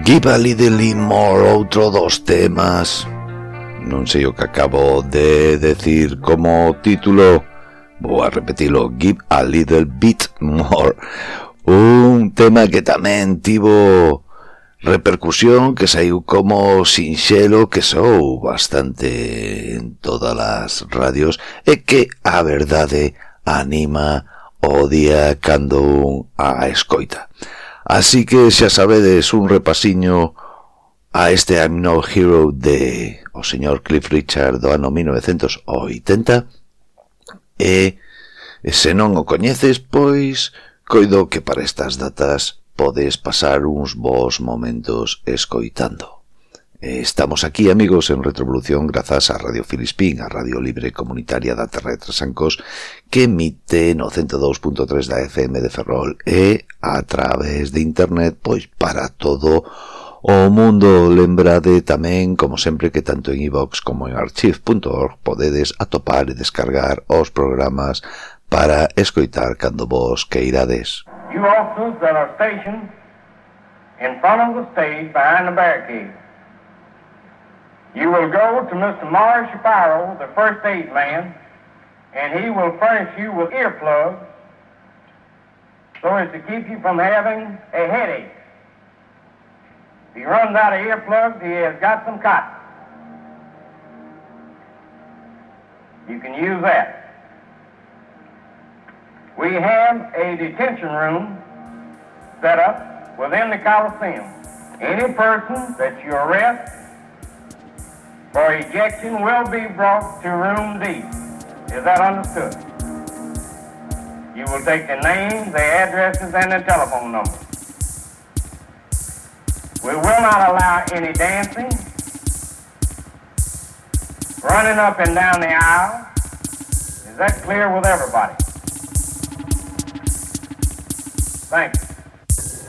Give a Little More, outro dos temas. Non sei o que acabo de decir como título. Vou a repetilo. Give a Little Bit More. Un tema que tamén tivo repercusión, que saiu como sinxelo, que sou bastante en todas as radios, e que a verdade anima o día cando un a escoita. Así que xa sabedes, un repasiño a este I'm No Hero de o señor Cliff Richard do ano 1980, e se non o coñeces, pois coido que para estas datas podes pasar uns bons momentos escoitando. Estamos aquí, amigos, en Retrovolución grazas a Radio Filispín, a Radio Libre Comunitaria da Terra de Trasancos, que emite no 102.3 da FM de Ferrol e a través de internet, pois para todo o mundo. Lembrade tamén, como sempre, que tanto en iVox como en archive.org podedes atopar e descargar os programas para escoitar cando vos queirades. You officers that are stationed in front of the stage behind the barricade, you will go to Mr. Morris Shapiro, the first aid man, and he will furnish you with earplugs so as to keep you from having a headache. If he runs out of earplugs, he has got some cotton. You can use that. We have a detention room set up within the Coliseum. Any person that you arrest for ejection will be brought to room D. Is that understood? You will take the names, the addresses, and the telephone numbers. We will not allow any dancing, running up and down the aisle. Is that clear with everybody? Thank you.